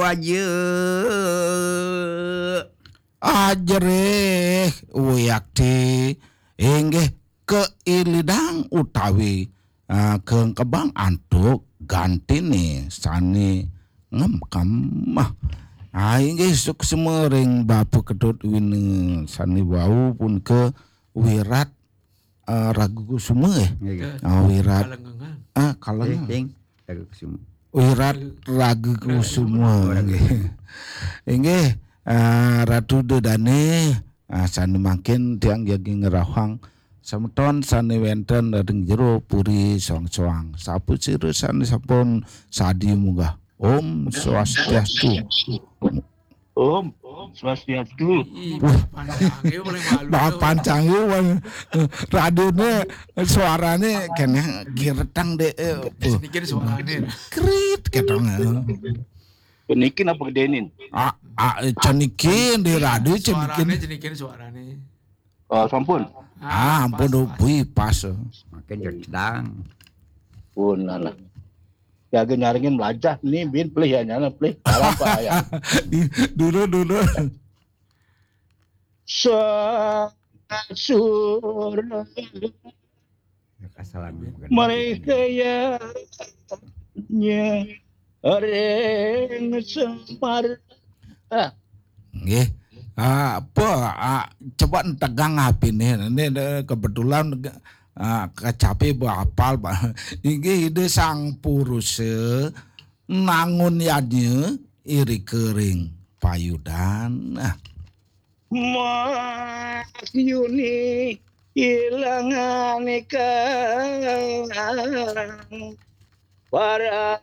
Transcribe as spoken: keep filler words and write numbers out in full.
Paja. Ajerih, wiakti, inggih keilidang utawi, ah, kengkebang antuk gantine sane ngemkem. Ah, inggih suksma ring Bapa Ketut Wina sane wau punika Wirat, ah, Raga Kusuma, eh. Nggih. Ah, Wirat. Kalengengan. Ah, Kalengengan. Ring, ring. Raga Kusuma. Wirat Raga Kusuma. Raga Kusuma. Nggih. Inggih, ah, Ratu Ida Dane, ah, sane mangkin tiang jagi ngrauhang semeton sane wenten ring jero puri soang-soang. Sapasira sane sampun sadi munggah. Om Swastiastu. Om Swastiastu. Ih, pancange paling malu. Bah, pancange, wan. Radione suarane kene giretang, Dek. Eh, apa? Senikin suarane. Krit ketang. Penikin apa gedenin? Ah, ah, cenikin di radio, cenikin. Suarane, cenikin suarane. Oh, sampun. Ah, ampun, pas, oh, pas. Bui, pas. Makin jedang. Pun, alah. Jaga nyaringin melajah ni, bin pelih ya, nyana pelih. Alam apa ya? Dulu, dulu. Sa-, sur-, Ya, kasalan. Mereka ya, nya, ring Semar. Ah. Nggih. Ah, apa, ah, coba tegang apine. Ini, ini kebetulan, ah, kecapi apal, Pak. Inggih Ida Sang Purusa nangun yadnya irika ring payudan. Ah. Mas Yuni ilangan ikang para